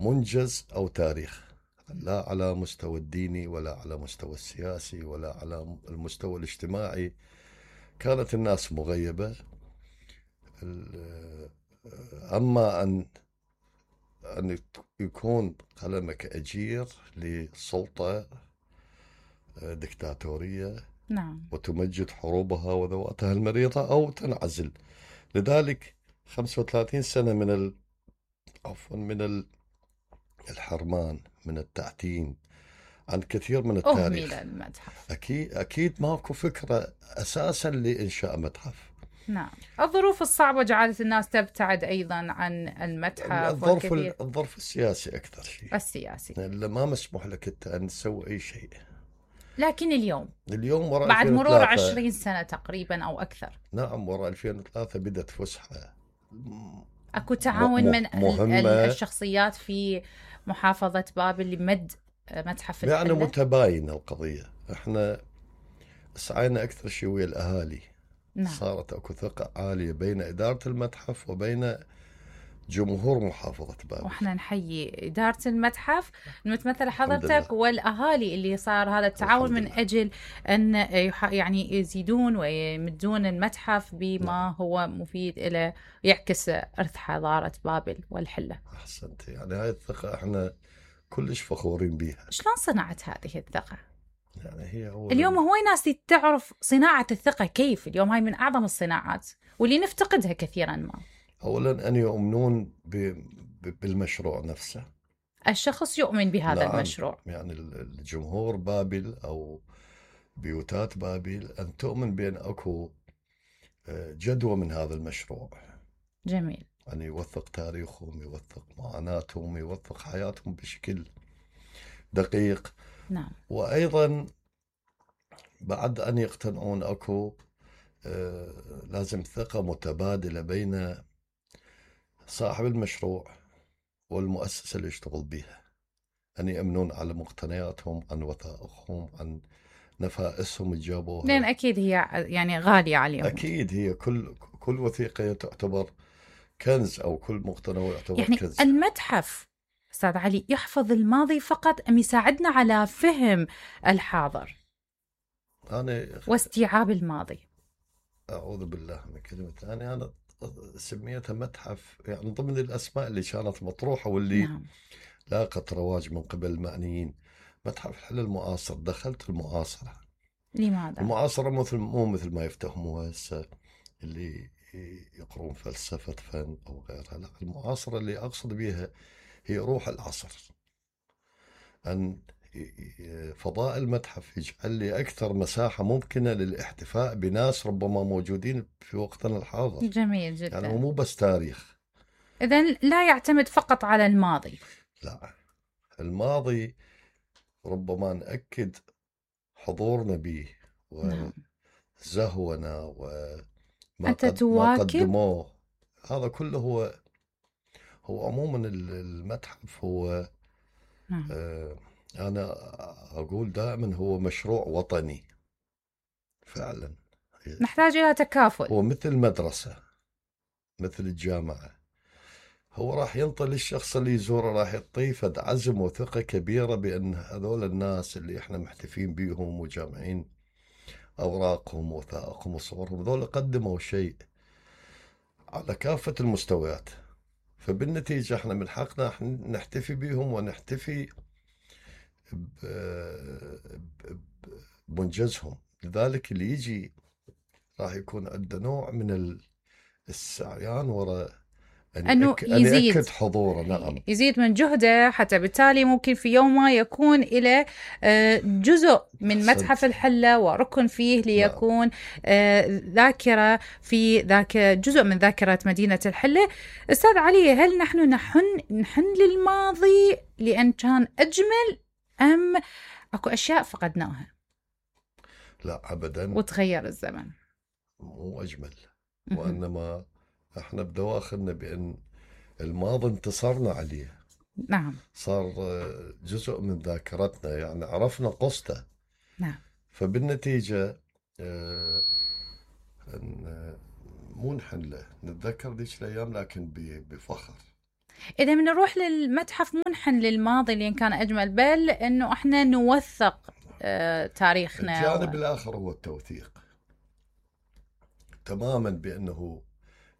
منجز أو تاريخ، لا على مستوى الديني ولا على مستوى السياسي ولا على المستوى الاجتماعي. كانت الناس مغيبة. أما أن يكون قلمك أجير لسلطة دكتاتورية نعم. وتمجد حروبها وذواتها المريضة أو تنعزل. لذلك 35 سنة من الحرمان، من التعتيم عن كثير من التاريخ. أهمل المتحف. أكيد ماكو فكرة أساسا لإنشاء متحف. نعم. الظروف الصعبة جعلت الناس تبتعد أيضا عن المتحف. الظرف السياسي أكثر شيء. السياسي. اللي ما مسموح لك أنت أن تسوي أي شيء. لكن اليوم وراء بعد 2003 مرور 20 سنة تقريبا أو أكثر. نعم، وراء 2003 بدأت فسحة. أكو تعاون من مهمة. الشخصيات في محافظة بابل لمد متحف الحلة. يعني متباينة القضية. احنا سعينا أكثر شيء ويا الأهالي. نعم. صارت أكو ثقة عالية بين إدارة المتحف وبين جمهور محافظة بابل. واحنا نحيي إدارة المتحف المتمثلة حضرتك والأهالي اللي صار هذا التعاون من أجل أن يعني يزيدون ويمدون المتحف بما هو مفيد إلى يعكس إرث حضارة بابل والحلة. أحسنت. يعني هاي الثقة احنا كلش فخورين بيها. شلون صنعت هذه الثقة؟ يعني هي اليوم هواي ناس تعرف صناعة الثقة كيف. اليوم هاي من أعظم الصناعات واللي نفتقدها كثيرا ما. أولا أن يؤمنون بالمشروع نفسه. الشخص يؤمن بهذا نعم. المشروع. يعني الجمهور بابل أو بيوتات بابل أن تؤمن بأن أكو جدوى من هذا المشروع. جميل. يعني يوثق تاريخهم، يوثق معاناتهم، يوثق حياتهم بشكل دقيق. نعم. وأيضا بعد أن يقتنعون أكو لازم ثقة متبادلة بين صاحب المشروع والمؤسسة اللي يشتغل بها، أن يأمنون على مقتنياتهم، عن وثائقهم، عن نفائسهم اللي جابوها. لأن أكيد هي يعني غالية عليهم. أكيد هي كل وثيقة تعتبر كنز، أو كل مقتنى يعتبر يعني كنز. المتحف أستاذ علي يحفظ الماضي فقط أم يساعدنا على فهم الحاضر واستيعاب الماضي؟ أعوذ بالله من كلمة ثانية. أنا سميتها متحف يعني ضمن الأسماء اللي كانت مطروحة واللي نعم. لاقت رواج من قبل المعنيين. متحف الحلة المعاصر. دخلت المعاصرة. لماذا؟ المعاصرة مو مثل ما يفتهموها هسه اللي يقرون فلسفة فن أو غيرها. لا، المعاصرة اللي أقصد بها هي روح العصر. أن فضاء المتحف يجعل لي أكثر مساحة ممكنة للاحتفاء بناس ربما موجودين في وقتنا الحاضر. جميل جدا. يعني مو بس تاريخ. إذن لا يعتمد فقط على الماضي. لا، الماضي ربما نأكد حضورنا به وزهونا وما قدموه. هذا كله هو عموما المتحف هو أنا أقول دائما هو مشروع وطني فعلا. نحتاج إلى تكافل. هو مثل مدرسة، مثل الجامعة. هو راح ينطي الشخص اللي يزوره، راح يعطيه فد عزم وثقة كبيرة بأن هذول الناس اللي احنا محتفين بيهم وجامعين أوراقهم ووثائقهم وصورهم، هذول قدموا شيء على كافة المستويات. فبالنتيجة احنا من حقنا نحتفي بيهم ونحتفي بمنجزهم. لذلك اللي يجي راح يكون عنده نوع من السعيان وراء أنه يزيد حضوره. نعم. يزيد من جهده، حتى بالتالي ممكن في يوم ما يكون إلى جزء من متحف الحلة وركن فيه ليكون ذاكرة في ذاك جزء من ذاكرة مدينة الحلة. أستاذ علي، هل نحن نحن للماضي لأن كان أجمل أم أكو أشياء فقدناها؟ لا أبدا. وتغير الزمن. مو أجمل، وإنما احنا بدواخلنا بأن الماضي انتصرنا عليه. نعم. صار جزء من ذاكرتنا، يعني عرفنا قصته. نعم. فبالنتيجة مو نحن له نتذكر ذيك الأيام لكن بفخر. إذا بنروح للمتحف منحن للماضي اللي كان أجمل، بل إنه إحنا نوثق تاريخنا. الجانب الآخر هو التوثيق تماما، بأنه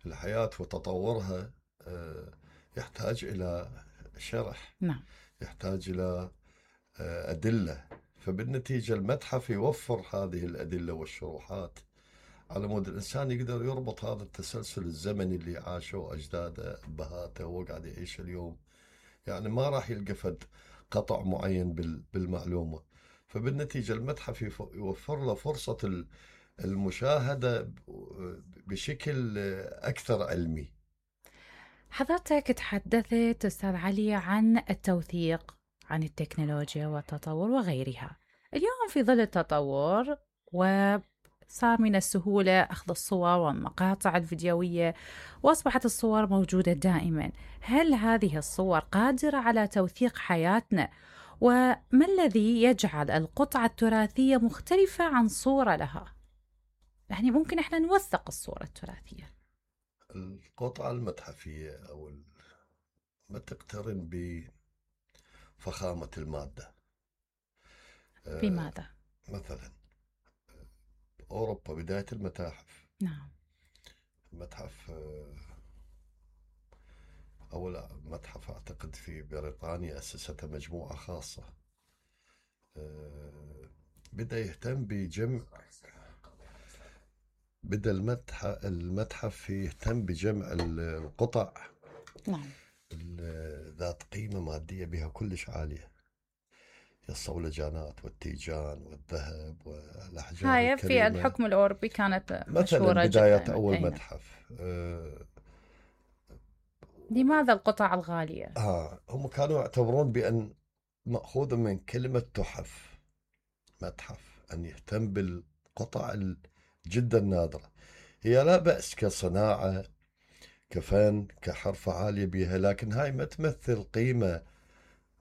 الحياة وتطورها يحتاج إلى شرح. نعم. يحتاج إلى أدلة، فبالنتيجة المتحف يوفر هذه الأدلة والشروحات على مود الإنسان يقدر يربط هذا التسلسل الزمني اللي عاشه أجداده أبهاته وقاعد يعيش اليوم. يعني ما راح يلقى فد قطع معين بالمعلومة، فبالنتيجة المتحف يوفر له فرصة المشاهدة بشكل أكثر علمي. حضرتك تحدثت أستاذ علي عن التوثيق، عن التكنولوجيا والتطور وغيرها. اليوم في ظل التطور وصار من السهولة أخذ الصور والمقاطع الفيديوية، وأصبحت الصور موجودة دائما. هل هذه الصور قادرة على توثيق حياتنا؟ وما الذي يجعل القطعة التراثية مختلفة عن صورة لها؟ يعني ممكن إحنا نوثق الصورة التراثية. القطعة المتحفية أو ما تقترن بفخامة المادة. بماذا؟ مثلا أوروبا بداية المتاحف. نعم. متحف أول متحف أعتقد في بريطانيا أسستها مجموعة خاصة، بدأ يهتم بجمع، بدأ المتحف يهتم بجمع القطع نعم. ذات قيمة مادية بها كلش عالية، الصولجانات والتيجان والذهب والأحجار هاي الكريمة. في الحكم الأوروبي كانت مشهورة مثلا بداية جدا. أول متحف. لماذا القطع الغالية؟ هم كانوا يعتبرون بأن مأخوذ من كلمة تحف، متحف أن يهتم بالقطع جدا نادرة. هي لا بأس كصناعة كفن كحرفة عالية بها، لكن هاي ما تمثل قيمة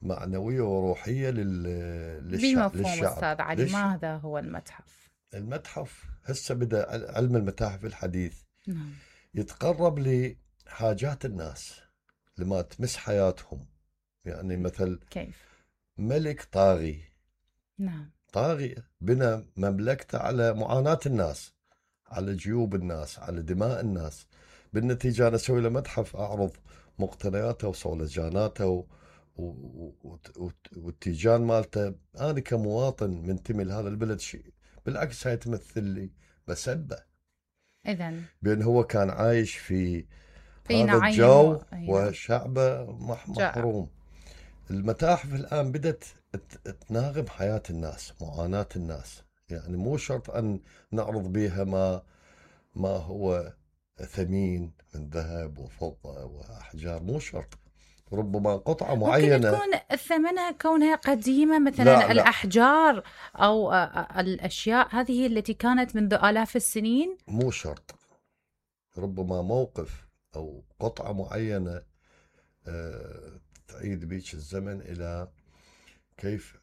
معنوية وروحية بمفهوم أستاذ علي، ماذا هو المتحف؟ المتحف هسه بدأ علم المتاحف الحديث نعم. يتقرب لحاجات الناس لما تمس حياتهم. يعني مثل كيف؟ ملك طاغي. نعم. طاغي بنى مملكته على معاناة الناس، على جيوب الناس، على دماء الناس. بالنتيجة أنا أسوي له متحف أعرض مقتنياته وصولجاناته والتيجان مالته. أنا كمواطن منتمي لهذا البلد شيء بالعكس هاي تمثل لي مسبة، إذن بأن هو كان عايش في في هذا الجو نعم. وشعبه محروم. المتاحف الآن بدأت تناغم حياة الناس، معاناة الناس. يعني مو شرط أن نعرض بها ما هو ثمين من ذهب وفضة وأحجار، مو شرط. ربما قطعة معينة ممكن تكون ثمنها كونها قديمة، مثلا لا الأحجار أو الأشياء هذه التي كانت منذ آلاف السنين. مو شرط، ربما موقف أو قطعة معينة تعيد بيك الزمن إلى كيف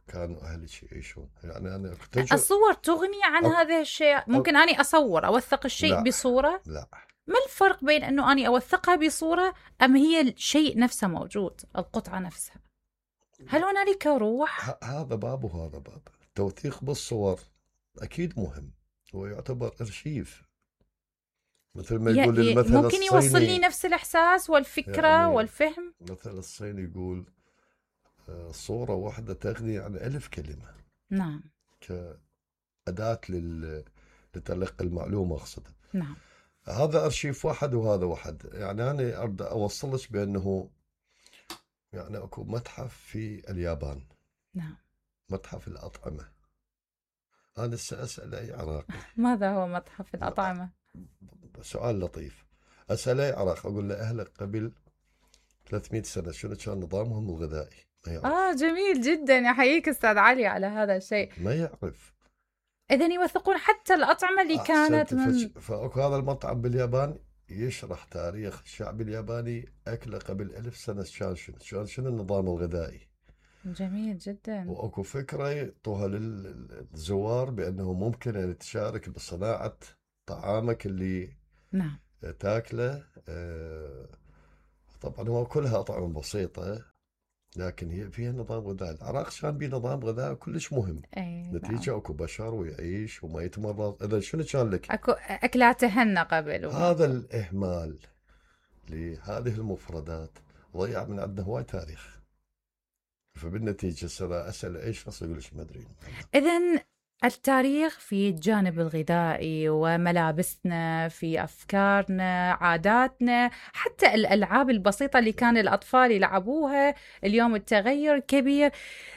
كانوا أهلك يعيشون. يعني أنا الصور تغني عن هذا الشيء. ممكن أني أصور أوثق الشيء بصورة. لا. ما الفرق بين أنه أني أوثقها بصورة أم هي الشيء نفسه موجود، القطعة نفسها؟ هل هنالك روح؟ هذا باب وهذا باب. التوثيق بالصور أكيد مهم، هو يعتبر أرشيف. مثل ما يقول المثل ممكن الصيني، يوصل لي نفس الإحساس والفكرة يعني والفهم. مثل الصيني يقول صورة واحدة تغني عن 1000 كلمة. نعم. كأداة لتلقي المعلومة أقصد. نعم. هذا أرشيف واحد وهذا واحد. يعني أنا أريد أوصلك بأنه يعني أكو متحف في اليابان. نعم. متحف الأطعمة. أنا سأسأل أي عراقي ماذا هو متحف الأطعمة؟ سؤال لطيف. أسأل أي عراقي أقول له أهلك قبل 300 سنة شنو كان نظامهم الغذائي؟ ما يعرف. جميل جدا، يحييك أستاذ علي على هذا الشيء. ما يعرف. إذن يوثقون حتى الأطعمة اللي كانت من فأكو هذا المطعم باليابان يشرح تاريخ الشعب الياباني أكله قبل 1000 سنة كان شنو النظام الغذائي. جميل جدا. وأكو فكرة يعطوها للزوار بأنه ممكن أن تشارك بصناعة طعامك اللي نعم تاكله طبعا هو كلها أطعمة بسيطة، لكن هي فيها نظام غذائي. العراق كان بيه نظام غذائي كلش مهم، اي نعم. نتيجة اكو بشر ويعيش وما يتمرض. اذا شنو كان لك؟ اكو اكلات هنا قبل وما. هذا الإهمال لهذه المفردات ضيع من عندنا هواي تاريخ. فبالنتيجة صار أسأل أي شخص يقول لك ما أدري. إذن التاريخ في الجانب الغذائي وملابسنا، في أفكارنا، عاداتنا، حتى الألعاب البسيطة اللي كان الأطفال يلعبوها، اليوم التغير كبير.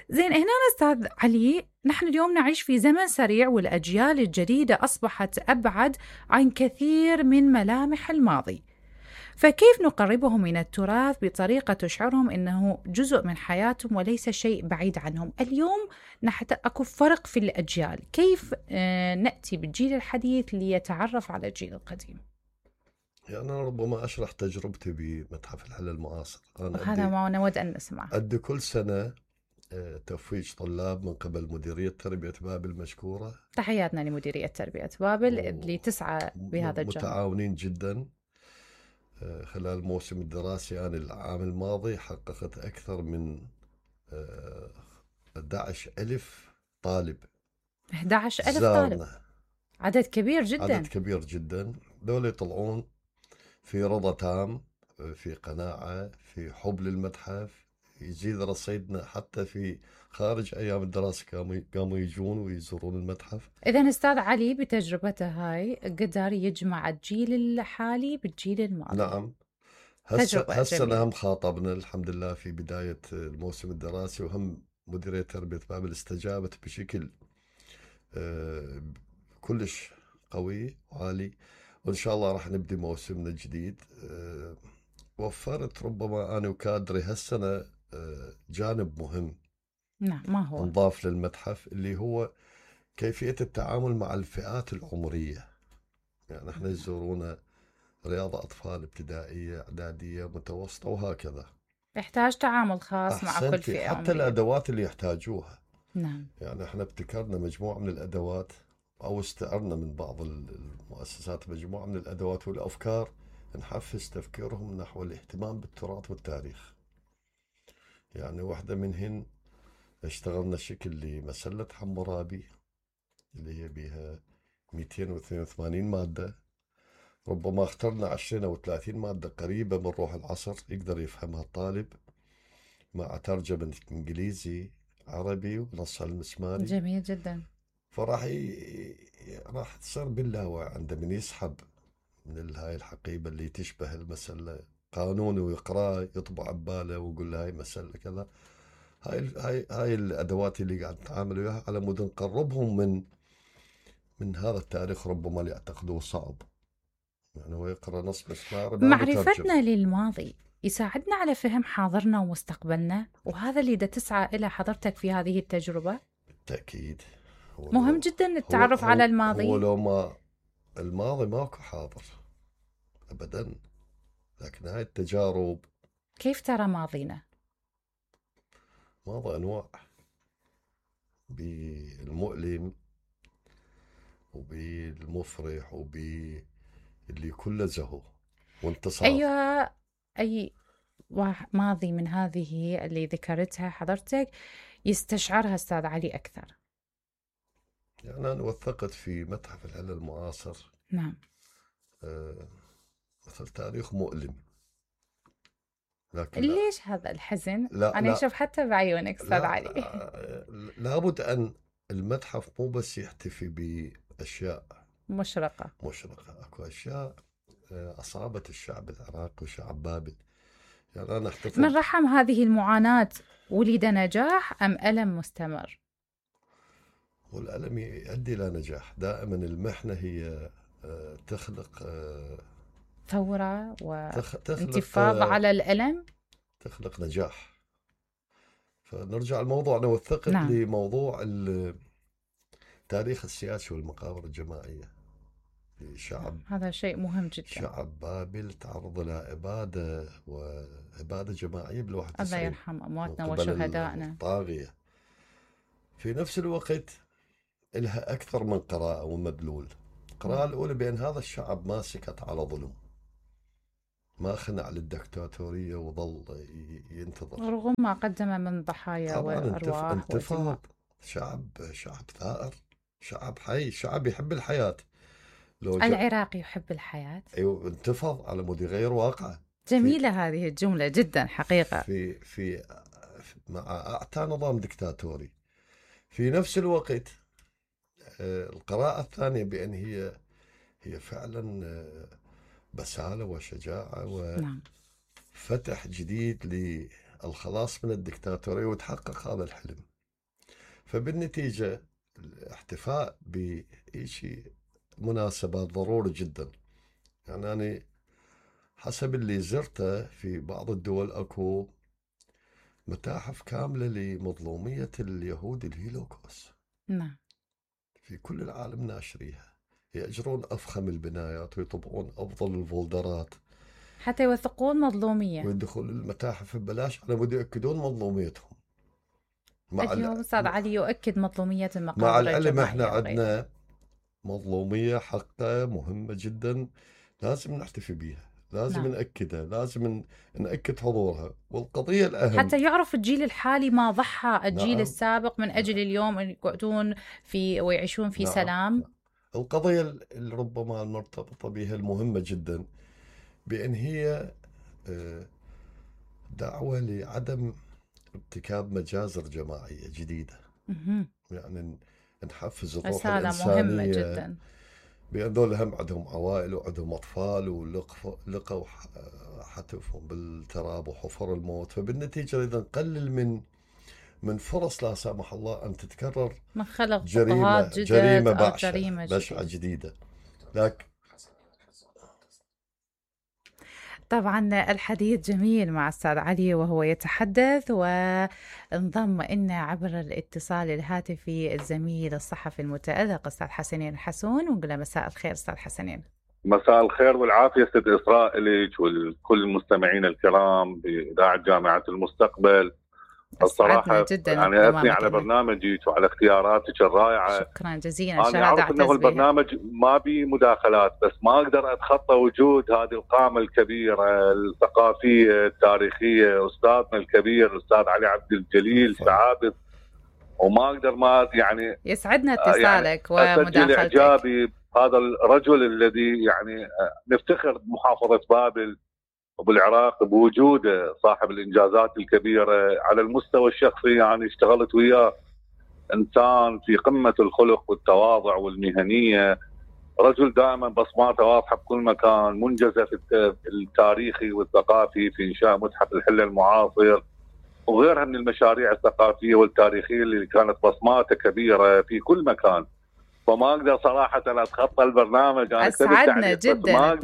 زين هنا أستاذ علي، نحن اليوم نعيش في زمن سريع، والأجيال الجديدة أصبحت أبعد عن كثير من ملامح الماضي، فكيف نقربهم من التراث بطريقة تشعرهم أنه جزء من حياتهم وليس شيء بعيد عنهم؟ اليوم أكو فرق في الأجيال، كيف نأتي بالجيل الحديث ليتعرف على الجيل القديم؟ يعني أنا ربما أشرح تجربتي بمتحف الحل المعاصر. هذا ما نود أن نسمع. أدي كل سنة تفويج طلاب من قبل مديرية تربية بابل المشكورة. تحياتنا لمديرية تربية بابل اللي تسعى بهذا الجانب. متعاونين جدا. خلال الموسم الدراسي أنا العام الماضي حققت أكثر من 11,000 طالب. 11,000 طالب، عدد كبير جدا. عدد كبير جدا. دول يطلعون في رضا تام، في قناعة، في حب للمتحف، يزيد رصيدنا حتى في خارج أيام الدراسة قاموا يجون ويزورون المتحف. إذن أستاذ علي بتجربته هاي قدر يجمع الجيل الحالي بالجيل الماضي. نعم. هسه هم خاطبنا الحمد لله في بداية الموسم الدراسي، وهم مديرية تربية بابل استجابت بشكل كلش قوي وعالي، وإن شاء الله راح نبدي موسمنا الجديد. وفرت ربما أنا وكادري هالسنة جانب مهم. نعم، ما هو؟ نضاف للمتحف اللي هو كيفية التعامل مع الفئات العمرية. يعني احنا يزورونا رياضة أطفال ابتدائية، إعدادية، متوسطة، وهكذا. يحتاج تعامل خاص مع كل فئة حتى عمرية. الأدوات اللي يحتاجوها. نعم. يعني احنا ابتكرنا مجموعة من الأدوات، أو استعرنا من بعض المؤسسات مجموعة من الأدوات والأفكار نحفز تفكيرهم نحو الاهتمام بالتراث والتاريخ. يعني واحدة منهن اشتغلنا شكل لمسلة حمورابي اللي هي بها 282 مادة. ربما اخترنا 20 أو 30 مادة قريبة من روح العصر يقدر يفهمها الطالب، مع ترجمة إنجليزي عربي ونصها المسماري. جميل جدا. راح تصير باللاوعي عنده من يسحب من هاي الحقيبة اللي تشبه المسلة قانون ويقرأ يطبع بباله ويقول له هاي مسلة كذا. هاي الأدوات اللي قاعد نتعامل وياها على مود نقربهم من هذا التاريخ ربما اللي يعتقدوه صعب. يعني هو يقرأ نص مسمار. معرفتنا للماضي يساعدنا على فهم حاضرنا ومستقبلنا، وهذا اللي تسعى إلى حضرتك في هذه التجربة. بالتأكيد مهم جدا التعرف على الماضي. هو لو ما الماضي ماكو حاضر أبدا، لكن هاي التجارب. كيف ترى ماضينا؟ ماضي أنواع، بالمؤلم وبالمفرح وباللي كله زهو وانتصار. أيها أي ماضي من هذه اللي ذكرتها حضرتك يستشعرها أستاذ علي أكثر؟ يعني أنا وثقت في متحف الحل المعاصر. نعم. مثل تاريخ مؤلم، لكن ليش هذا الحزن؟ لا أنا أشوف حتى بعيونك أستاذ علي. لابد أن المتحف مو بس يحتفي بأشياء مشرقة. أكو أشياء أصابت الشعب العراقي وشعب بابل. يعني أنا أحتفل من رحم هذه المعاناة ولد نجاح أم ألم مستمر؟ والألم يؤدي إلى نجاح. دائما المحنة هي تخلق ثورة وانتفاضة على الألم، تخلق نجاح. فنرجع الموضوع. أنا وثقت نعم. لموضوع التاريخ السياسي والمقابر الجماعية لشعب. هذا شيء مهم جدا. شعب بابل تعرض إلى وإبادة جماعية بال91. الله يرحم أمواتنا وشهدائنا. طاغية. في نفس الوقت لها أكثر من قراءة ومدلول. القراءة الأولى بأن هذا الشعب ما سكت على ظلم، ما خنع للدكتاتورية وظل ينتظر رغم ما قدم من ضحايا طبعا. وأرواح انتفض. ودماء. شعب ثائر، شعب حي، شعب يحب الحياة. لو العراق يحب الحياة. ايوه، انتفض على مود يغير واقعه. جميلة هذه الجملة جدا حقيقة. في مع اعتى نظام دكتاتوري. في نفس الوقت القراءة الثانية بأن هي فعلا بسالة وشجاعة نعم. وفتح جديد للخلاص من الدكتاتورية، وتحقق هذا الحلم. فبالنتيجة الاحتفاء بشيء مناسبات ضروري جدا. يعني أنا حسب اللي زرته في بعض الدول اكو متاحف كاملة لمظلومية اليهود الهيلوكوست. نعم. في كل العالم ناشريها، يأجرون أفخم البنايات ويطبعون أفضل الفولدرات حتى يوثقون مظلومية، ويدخلون المتاحف ببلاش على مود يؤكدون مظلوميتهم. اليوم أستاذ علي يؤكد مظلومية مع المقابر العلم احنا الجماعية وغيرها. عندنا مظلومية حقة مهمة جدا، لازم نحتفي بها، لازم نعم. نأكدها، لازم نأكد حضورها. والقضية الأهم حتى يعرف الجيل الحالي ما ضحى الجيل نعم. السابق من أجل اليوم أن يقعدون في ويعيشون في نعم. سلام. القضية اللي ربما المرتبطة بها المهمة جدا بأن هي دعوة لعدم ارتكاب مجازر جماعية جديدة. يعني نحفز الروح رسالة الإنسانية مهمة جدا، بأن ذول هم عندهم عوائل وعندهم أطفال ولقوا حتفهم بالتراب وحفر الموت. فبالنتيجة إذا نقلل من فرص لا سمح الله أن تتكرر من خلق جريمة جريمة بشعة جديدة. لكن طبعا الحديث جميل مع أستاذ علي وهو يتحدث، وانضم إلنا عبر الاتصال الهاتفي الزميل الصحفي المتألق أستاذ حسنين حسون، ونقول له مساء الخير أستاذ حسنين. مساء الخير والعافية ست إسراء لك ولكل المستمعين الكرام بإذاعة جامعة المستقبل. الصراحة جدا يعني أثني على برنامجك وعلى اختياراتك الرائعة. شكرا جزيلا. أنا أعرف أنه البرنامج ما بيه مداخلات، بس ما أقدر أتخطى وجود هذه القامة الكبيرة الثقافية التاريخية، أستاذنا الكبير الأستاذ علي عبد الجليل شعابد، وما أقدر ما يعني يسعدنا اتصالك يعني ومداخلتك. إعجابي هذا الرجل الذي يعني نفتخر بمحافظة بابل وبالعراق بوجوده، صاحب الإنجازات الكبيرة على المستوى الشخصي. يعني اشتغلت وياه إنسان في قمة الخلق والتواضع والمهنية، رجل دائما بصماته واضحة بكل مكان، منجزة في التاريخي والثقافي في إنشاء متحف الحلة المعاصر وغيرها من المشاريع الثقافية والتاريخية اللي كانت بصماته كبيرة في كل مكان. فما اقدر صراحه اتخطى البرنامج. انا اسعدنا جدا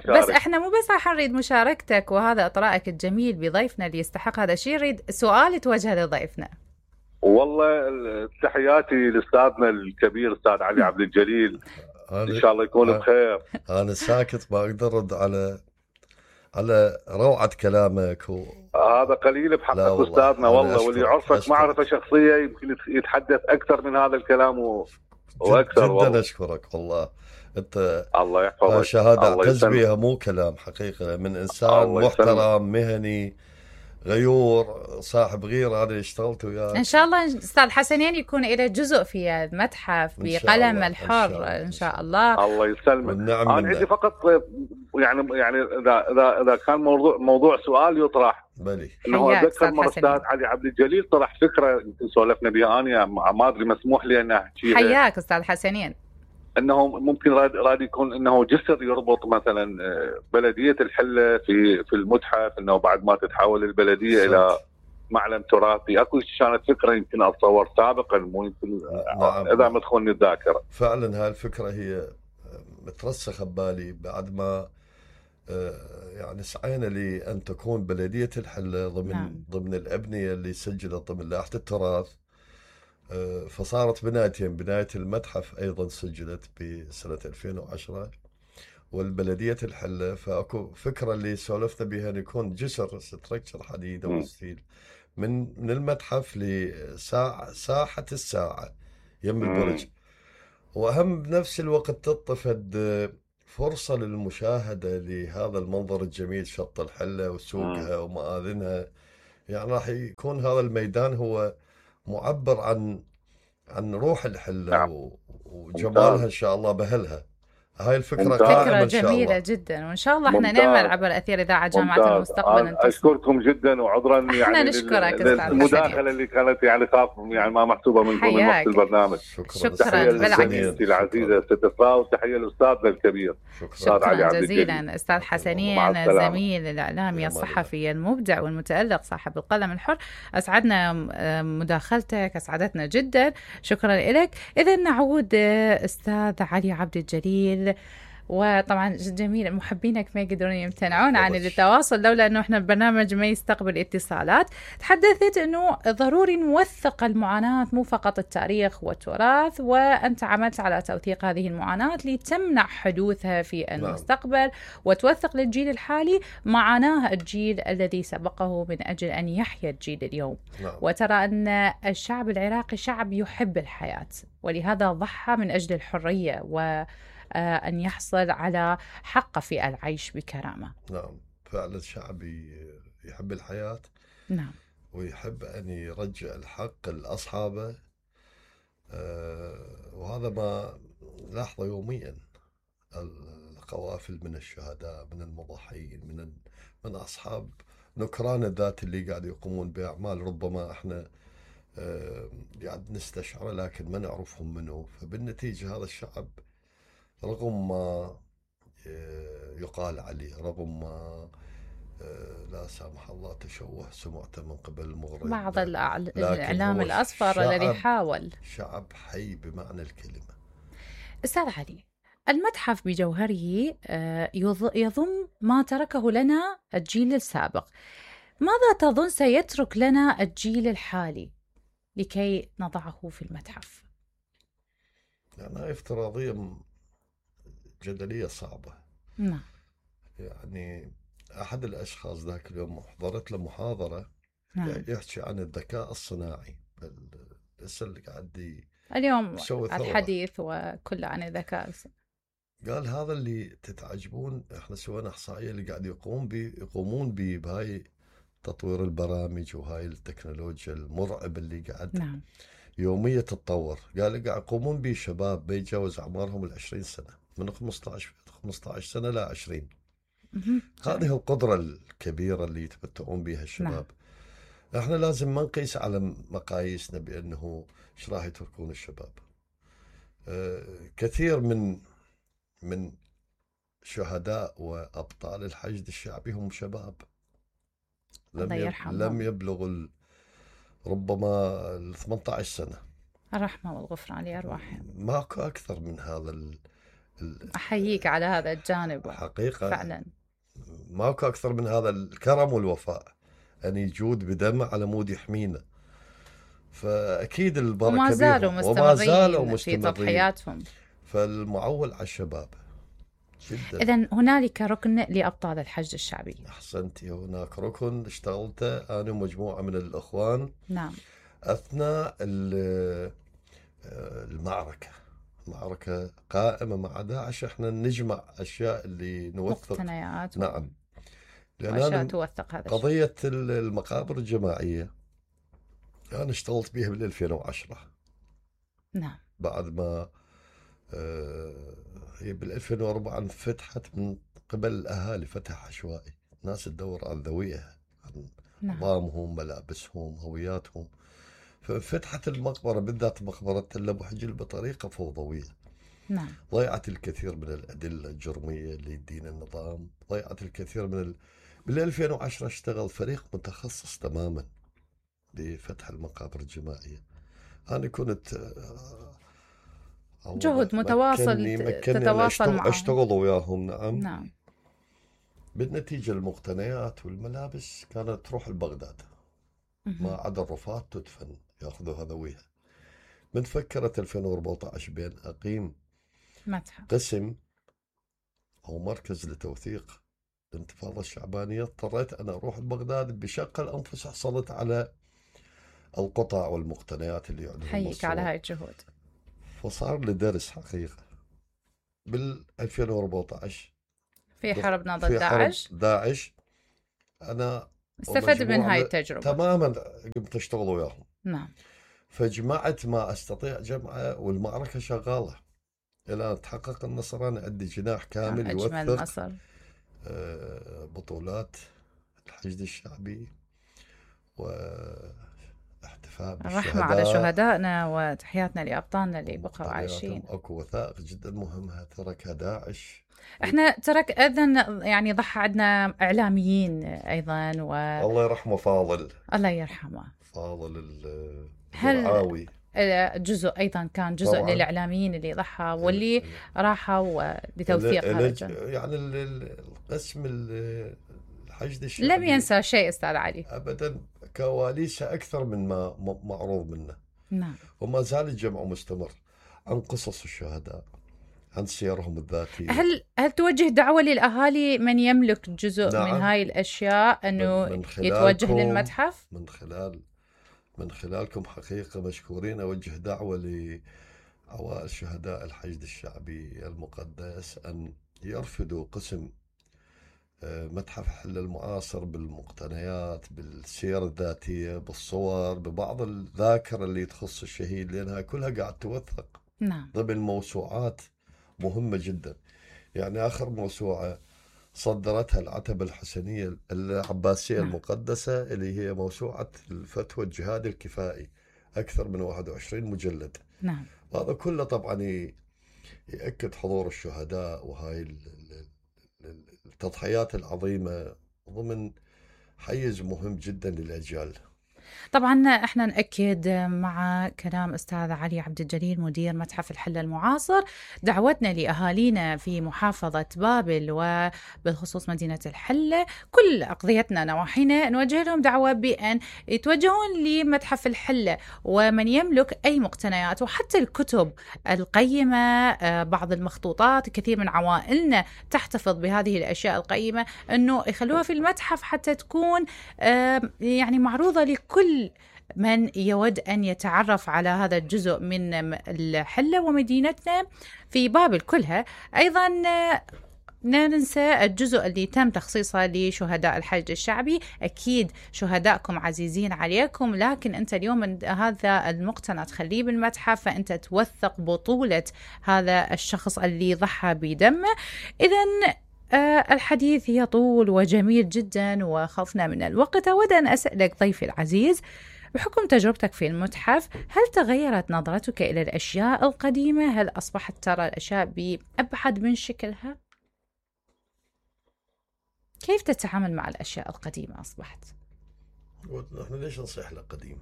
بس احنا مو بس راح نريد مشاركتك وهذا اطرائك الجميل بضيفنا اللي يستحق هذا الشيء، نريد سؤال توجه لضيفنا. والله تحياتي لاستاذنا الكبير استاذ علي عبد الجليل، ان شاء الله يكون بخير. انا ساكت ما اقدر ارد على روعه كلامك هذا قليل بحق استاذنا والله، واللي يعرفك معرفه شخصيه يمكن يتحدث اكثر من هذا الكلام واكثر. جدا والله اشكرك والله. انت الله يحفظك، شهاده اعتز بها مو كلام، حقيقه من انسان محترم مهني غيور صاحب غيره. انا اشتغلت وياه. ان شاء الله استاذ حسنين يكون له جزء في المتحف بقلم الحر ان شاء الله. الله يسلمك. والنعم انا عندي فقط يعني اذا كان موضوع سؤال يطرح، بلي انه اتذكر مره استاذ علي عبد الجليل طرح فكره يمكن سولفنا بها انا ما ادري مسموح لي ان احكيها. حياك استاذ حسنين. انه ممكن راد يكون انه جسر يربط مثلا بلديه الحله في المتحف، انه بعد ما تتحول البلديه الى معلم تراثي. اكو كانت فكره يمكن اتصور سابقا، مو يمكن اذا ما تخونني الذاكره. فعلا هاي الفكره هي مترسخه ببالي بعد ما يعني سعينا لأن تكون بلدية الحلة ضمن الأبنية اللي سجلت ضمن لائحة التراث. فصارت بنايتين، بناية المتحف أيضا سجلت بسنة 2010 والبلدية الحلة. فأكو فكرة اللي سولفنا بها أن يكون جسر ستركشر حديد أو ستيل من المتحف لساحة الساعة يم البرج. وأهم بنفس الوقت تطفد فرصة للمشاهدة لهذا المنظر الجميل، شط الحلة وسوقها ومآذنها. يعني راح يكون هذا الميدان هو معبر عن روح الحلة نعم. وجمالها إن شاء الله بأهلها. هاي الفكرة ممتاز. قائمة فكرة إن شاء جميلة الله. جدا، وإن شاء الله احنا ممتاز. نعمل عبر أثير إذاعة جامعة ممتاز. المستقبل أن تصنع. أشكركم جدا، وعذرا احنا يعني نشكرك أستاذ المداخلة اللي كانت يعني خاف يعني ما محسوبة من وقت حياك. البرنامج. شكراً. تحية بالعكس. لزميلتي العزيزة ست إسراء، وتحية لأستاذنا الكبير أستاذ علي عبد الجليل. جزيلا أستاذ مع حسنين، السلامة. الزميل الإعلامي الصحفي المبدع والمتألق صاحب القلم الحر. أسعدنا مداخلتك، أسعدتنا جدا، شكرا لك. إذا نعود أستاذ علي عبد الجليل، وطبعا جميل محبينك ما يقدرون يمتنعون عن التواصل لولا انه احنا البرنامج ما يستقبل اتصالات. تحدثت انه ضروري نوثق المعاناة، مو فقط التاريخ والتراث، وانت عملت على توثيق هذه المعاناة لتمنع حدوثها في المستقبل وتوثق للجيل الحالي معاناة الجيل الذي سبقه من اجل ان يحيا الجيل اليوم. وترى ان الشعب العراقي شعب يحب الحياة، ولهذا ضحى من اجل الحرية أن يحصل على حق في العيش بكرامة. نعم، فعلا شعبي يحب الحياة. نعم. ويحب أن يرجع الحق لأصحابه. وهذا ما نلاحظه يوميا، القوافل من الشهداء، من المضحيين، من أصحاب نكران الذات اللي قاعد يقومون بأعمال ربما احنا قاعد نستشعره لكن ما نعرفهم منه. فبالنتيجة هذا الشعب رغم ما يقال عليه، رغم ما لا سامح الله تشوه سمعته من قبل المغرب، بعض الإعلام الأصفر الذي حاول. شعب حي بمعنى الكلمة. أستاذ علي، المتحف بجوهره يضم ما تركه لنا الجيل السابق. ماذا تظن سيترك لنا الجيل الحالي لكي نضعه في المتحف؟ يعني افتراضية جدلية صعبة. نعم. يعني أحد الأشخاص ذاك اليوم حضرت له محاضرة يحكي عن الذكاء الصناعي، بس اللي قاعد اليوم الحديث وكله عن الذكاء. قال هذا اللي تتعجبون، احنا سوينا إحصائية اللي قاعد يقومون بهاي تطوير البرامج وهاي التكنولوجيا المرعب اللي قاعد يوميا تتطور. قال قاعد يقومون به شباب بيتجاوز أعمارهم 20 سنة، من 15 سنة لا 20. هذه القدرة الكبيرة اللي يتمتعون بها الشباب. احنا لازم ما نقيس على مقاييسنا بأنه ايش راح يتركون الشباب. كثير من شهداء وأبطال الحشد الشعبي هم شباب لم يبلغوا ربما 18 سنة. الرحمة والغفران لأرواحهم. ماكو أكثر من هذا. أحييك على هذا الجانب حقيقة فعلا. ماكو أكثر من هذا الكرم والوفاء، أن يجود بدمه على مود يحمينا. فأكيد البركة وما زالوا مستمرين في تضحياتهم. فالمعول على الشباب جدا. إذن هنالك ركن لأبطال الحشد الشعبي. أحسنتي، هناك ركن اشتغلته أنا ومجموعة من الأخوان. نعم. أثناء المعركة قائمة مع داعش، احنا نجمع أشياء اللي نوثق مقتنيات. نعم، لأن توثق هذا قضية المقابر الجماعية أنا اشتغلت بها بال 2010. نعم. بعد ما هي بال 2004 انفتحت من قبل الأهالي، فتح عشوائي، ناس تدور عن ذويها، عن نظامهم، ملابسهم، هوياتهم. ففتحت المقبرة بالذات مقبرة تل أبو حجل بطريقة فوضوية. نعم. ضيعت الكثير من الأدلة الجرمية اللي يدين النظام، ضيعت الكثير من بال 2010 اشتغل فريق متخصص تماما لفتح المقابر الجماعية. أنا كنت جهد متواصل تتواصل معهم، أشتغل وياهم. نعم. نعم. بالنتيجة المقتنيات والملابس كانت تروح لبغداد، ما عدا الرفات تدفن، يأخذوا هذويها. من فكرت 2014 بين أقيم متحف، قسم أو مركز لتوثيق الانتفاضة الشعبانية، اضطريت أنا أروح لبغداد بشق الأنفس. حصلت على القطع والمقتنيات اللي يعلنون. حيك على هاي الجهود. فصار لي درس حقيقة بال 2014 في حربنا ضد في حرب داعش داعش أنا استفدت من هاي ومجموعة التجربة. تماما قمت أشتغل وياهم، نعم. فجمعت ما أستطيع جمعه، والمعركة شغالة إلى أن تحقق النصر. أنا عندي جناح كامل أجمل يوثق نصر. بطولات الحشد الشعبي واحتفاء الرحمة على بالشهداء. شهدائنا وتحياتنا لأبطالنا اللي بقوا طبيعتهم عايشين. اكو وثائق جدا مهمة تركها داعش. احنا ترك اذن يعني ضحى عندنا اعلاميين ايضا الله يرحمه فاضل، الله يرحمه فاضل هل الرعاوي. جزء ايضا كان جزء طبعاً. للاعلاميين اللي ضحى واللي راحوا لتوثيق هذا الجند. يعني القسم الحشد الشعبي لم ينسى شيء استاذ علي ابدا، كواليسه اكثر من ما معروض منه. نعم. وما زال الجمع مستمر عن قصص الشهداء، عن سيرهم الذاتية. هل توجه دعوة للأهالي من يملك جزء نعم. من هاي الأشياء أنه يتوجه للمتحف؟ من خلالكم حقيقة مشكورين. أوجه دعوة لعوائل شهداء الحشد الشعبي المقدس أن يرفدوا قسم متحف الحلة المعاصر بالمقتنيات، بالسير الذاتية، بالصور، ببعض الذاكرة اللي تخص الشهيد، لأنها كلها قاعد توثق. نعم. ضمن موسوعات مهمة جدا. يعني آخر موسوعة صدرتها العتبة الحسنية العباسية المقدسة، اللي هي موسوعة الفتوى الجهاد الكفائي، أكثر من 21 مجلد. نعم. هذا كله طبعا يأكد حضور الشهداء وهاي التضحيات العظيمة ضمن حيز مهم جدا للأجيال. طبعا احنا نأكد مع كلام أستاذ علي عبد الجليل مدير متحف الحلة المعاصر دعوتنا لأهالينا في محافظة بابل وبالخصوص مدينة الحلة، كل أقضيتنا نواحينا نوجه لهم دعوة بأن يتوجهون لمتحف الحلة، ومن يملك أي مقتنيات وحتى الكتب القيمة، بعض المخطوطات، كثير من عوائلنا تحتفظ بهذه الأشياء القيمة، أنه يخلوها في المتحف حتى تكون يعني معروضة لكل من يود أن يتعرف على هذا الجزء من الحلة ومدينتنا في بابل كلها. أيضا لا ننسى الجزء اللي تم تخصيصه لشهداء الحشد الشعبي. أكيد شهدائكم عزيزين عليكم، لكن أنت اليوم هذا المقتنى تخليه بالمتحف، فأنت توثق بطولة هذا الشخص اللي ضحى بدمه. إذن الحديث يطول وجميل جدا وخفنا من الوقت. أود أن أسألك ضيفي العزيز، بحكم تجربتك في المتحف، هل تغيرت نظرتك إلى الأشياء القديمة؟ هل أصبحت ترى الأشياء بأبعد من شكلها؟ كيف تتعامل مع الأشياء القديمة أصبحت؟ نحن ليش نصيح لها قديم؟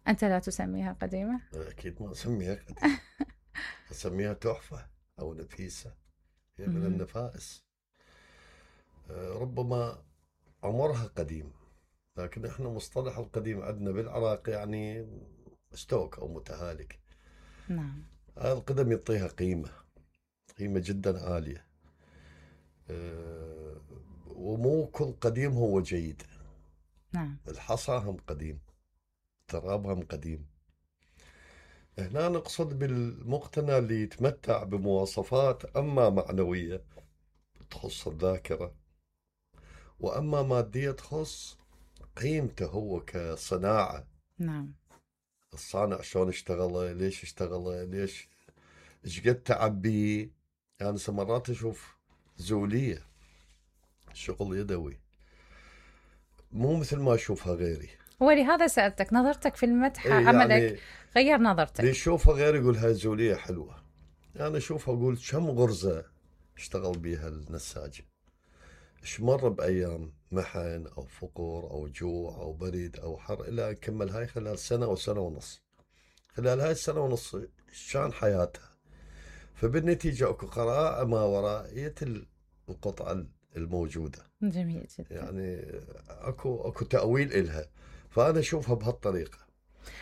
أنت لا تسميها قديمة؟ أكيد ما أسميها قديمة. أسميها تحفة أو نفيسة، هي من النفائس. ربما عمرها قديم، لكن احنا مصطلح القديم عندنا بالعراق يعني مستوك او متهالك. نعم. هذا القدم يعطيها قيمة جدا عالية. ومو كل قديم هو جيد. نعم. الحصى هم قديم، التراب هم قديم. هنا نقصد بالمقتنى اللي يتمتع بمواصفات اما معنوية تخص الذاكرة، واما مادية تخص قيمته هو كصناعة. نعم. الصانع شلون اشتغله، ليش اشتغله، ليش ايش قد تعب بيه. يعني مرات اشوف زولية شغل يدوي مو مثل ما اشوفها غيري. ولهذا سألتك نظرتك في المتحف، عملك يعني غير نظرتك. اللي يشوفها غيري يقول هاي زولية حلوة، يعني اشوفها اقول كم غرزة اشتغل بيها النساج، ايش مر بايام محن او فقر او جوع او برد او حر، الى ان كمل هاي خلال سنة او سنة ونص. خلال هاي السنة ونص شان حياتها. فبالنتيجة اكو قراءة ما ورائية القطعة الموجودة. جميل جدا. يعني اكو تأويل إلها، فأنا أشوفها بهالطريقة.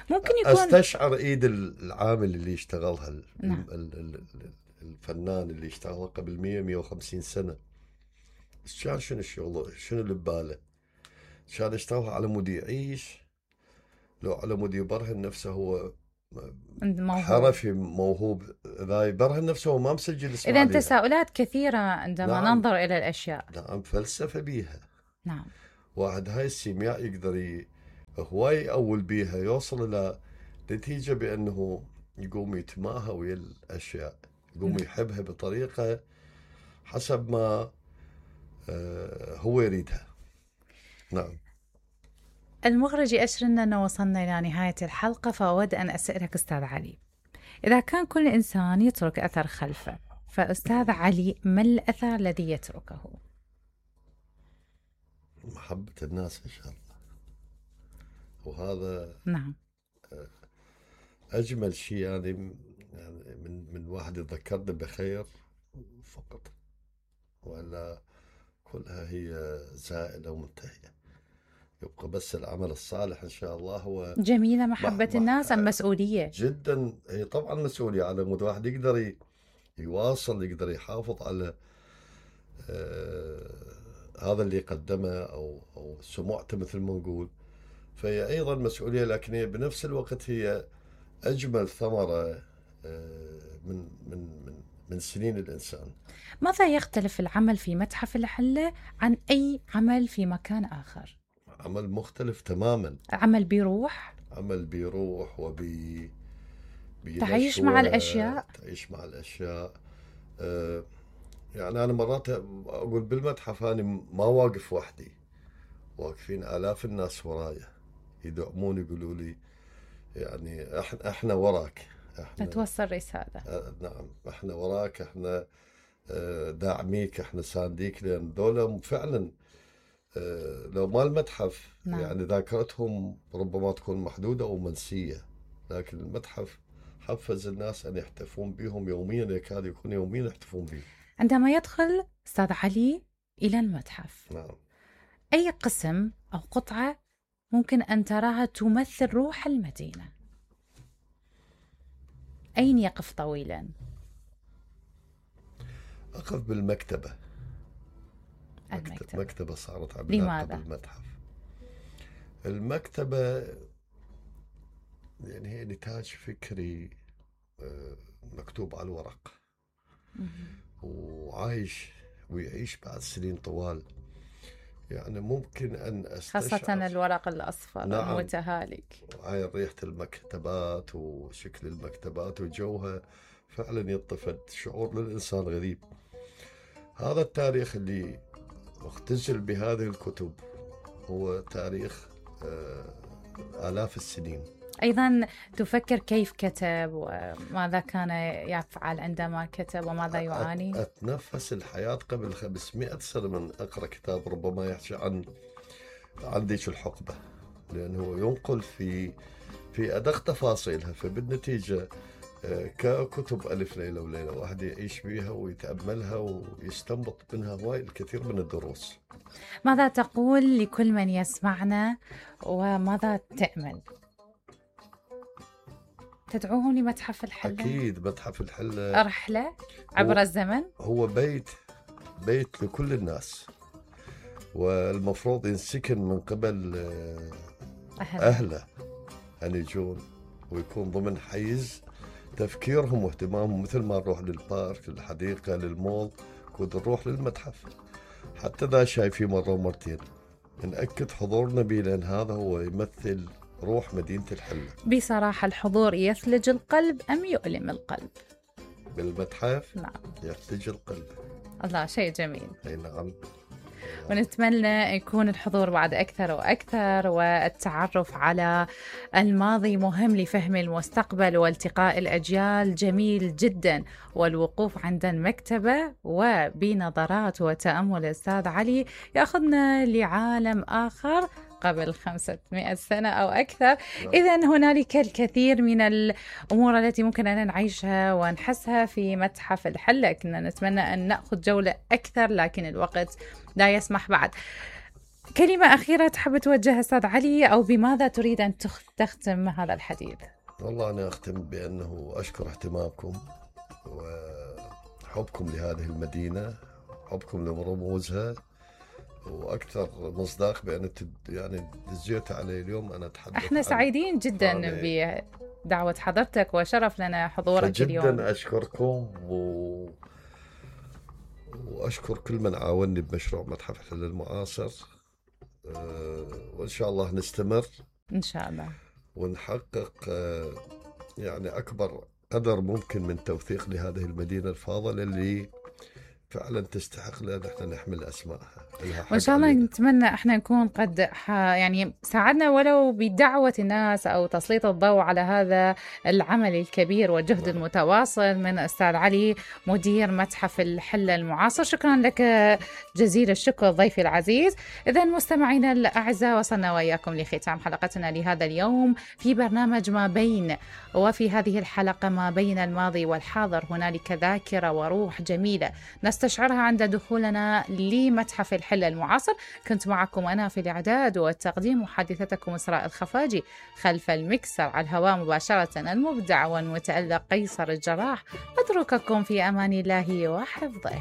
ممكن يكون استشعر ايد العامل اللي اشتغلها. نعم. الفنان اللي اشتغلها قبل 150 سنة. كان شنو الشغل، شنو اللي بباله. كان اشتغلها على مود يعيش، لو على مود يبرهن نفسه هو حرفي موهوب، لا يبرهن نفسه وما مسجل اسمه. إذن تساؤلات كثيرة عندما ننظر إلى الأشياء. نعم، فلسفة بيها. نعم. واحد هاي السيمياء يقدر هواي أول بيها يوصل إلى نتيجة بأنه يقوم يتماهى ويا الأشياء، يقوم يحبها بطريقة حسب ما هو يريدها. نعم. المخرج يأشر لنا أنه وصلنا إلى نهاية الحلقة، فأود أن أسألك أستاذ علي، إذا كان كل إنسان يترك أثر خلفه، فأستاذ علي ما الأثر الذي يتركه؟ محبة الناس إن شاء الله، وهذا نعم أجمل شيء. يعني من واحد يذكرني بخير فقط، ولا كلها هي زائلة ومنتهية، يبقى بس العمل الصالح إن شاء الله. هو جميلة محبة الناس أم مسؤولية؟ جدا، هي طبعا مسؤولية على مود واحد يقدر يواصل، يقدر يحافظ على هذا اللي قدمه أو سمعته مثل ما نقول، فهي أيضا مسؤولية، لكن هي بنفس الوقت هي أجمل ثمرة من من من من سنين الإنسان. ماذا يختلف العمل في متحف الحلة عن أي عمل في مكان آخر؟ عمل مختلف تماما، عمل بيروح تعيش مع الأشياء. يعني أنا مرات أقول بالمتحف أنا ما واقف وحدي، واقفين آلاف الناس ورايا يدعمون، يقولوا لي يعني احنا وراك، احنا توصل رسالة. نعم، احنا وراك، احنا داعميك، احنا سانديك، لأن دولة فعلا لو ما المتحف نعم. يعني ذاكرتهم ربما تكون محدودة أو منسية، لكن المتحف حفز الناس أن يحتفون بهم يوميا، يكاد يكون يوميا يحتفون بهم. عندما يدخل أستاذ علي إلى المتحف، نعم، أي قسم أو قطعة ممكن أن تراها تمثل روح المدينة؟ أين يقف طويلا؟ أقف بالمكتبة. مكتبة صارت عملاقة بالمتحف. المكتبة يعني هي نتاج فكري مكتوب على الورق، وعايش ويعيش بعد سنين طوال. يعني ممكن أن أستشعر خاصة الورق الأصفر. نعم. المتهالك. هاي ريحة المكتبات وشكل المكتبات وجوها فعلا يطفد شعور للإنسان غريب. هذا التاريخ اللي مختزل بهذه الكتب هو تاريخ آلاف السنين. أيضا تفكر كيف كتب وماذا كان يفعل عندما كتب وماذا يعاني؟ أتنفس الحياة قبل 500 سنة من أقرأ كتاب ربما يحكي عن ذيك الحقبة، لأنه ينقل في أدق تفاصيلها، فبالنتيجة ككتب ألف ليلة وليلة واحد يعيش بيها ويتأملها ويستنبط منها هواي الكثير من الدروس. ماذا تقول لكل من يسمعنا وماذا تأمل؟ تدعوهم لمتحف الحلة؟ أكيد متحف الحلة رحلة عبر الزمن، هو بيت لكل الناس، والمفروض ينسكن من قبل أهله أن يجون ويكون ضمن حيز تفكيرهم واهتمامهم، مثل ما نروح للبارك، للحديقة، للمول، كود نروح للمتحف. حتى ذا شايفين مرة ومرتين نأكد حضورنا به، لأن هذا هو يمثل روح مدينة الحلة. بصراحة الحضور يثلج القلب أم يؤلم القلب؟ بالمتحف نعم يثلج القلب. الله، شيء جميل. أي نعم. ونتمنى يكون الحضور بعد أكثر وأكثر، والتعرف على الماضي مهم لفهم المستقبل والتقاء الأجيال جميل جدا، والوقوف عند المكتبة وبنظرات وتأمل الأستاذ علي يأخذنا لعالم آخر قبل 500 سنة أو أكثر. إذن هنالك الكثير من الأمور التي ممكن أن نعيشها ونحسها في متحف الحلة. كنا نتمنى أن نأخذ جولة أكثر لكن الوقت لا يسمح بعد. كلمة أخيرة تحب توجهها أستاذ علي، أو بماذا تريد أن تختم هذا الحديث؟ والله أنا أختم بأنه أشكر اهتمامكم وحبكم لهذه المدينة، حبكم لرموزها، واكثر مصداق بان يعني دزيت علي اليوم انا اتحدث. احنا سعيدين جدا دعوة حضرتك وشرف لنا حضورك اليوم. جدا أشكركم وأشكر كل من عاوني بمشروع متحف الحلة المعاصر، وإن شاء الله نستمر إن شاء الله ونحقق يعني أكبر قدر ممكن من توثيق لهذه المدينة الفاضلة اللي فعلا تستحق لأن احنا نحمل أسمائها. وإن شاء الله نتمنى احنا نكون قد يعني ساعدنا ولو بدعوة الناس أو تسليط الضوء على هذا العمل الكبير والجهد المتواصل من أستاذ علي مدير متحف الحلة المعاصر. شكرا لك جزيل الشكر ضيفي العزيز. إذا مستمعينا الأعزاء وصلنا وإياكم لختام حلقتنا لهذا اليوم في برنامج ما بين، وفي هذه الحلقة ما بين الماضي والحاضر هنالك ذاكرة وروح جميلة نستشعرها عند دخولنا لمتحف الحلة المعاصر. كنت معكم أنا في الإعداد والتقديم محادثتكم إسراء الخفاجي، خلف المكسر على الهواء مباشرة المبدع والمتألق قيصر الجراح. أترككم في أمان الله وحفظه.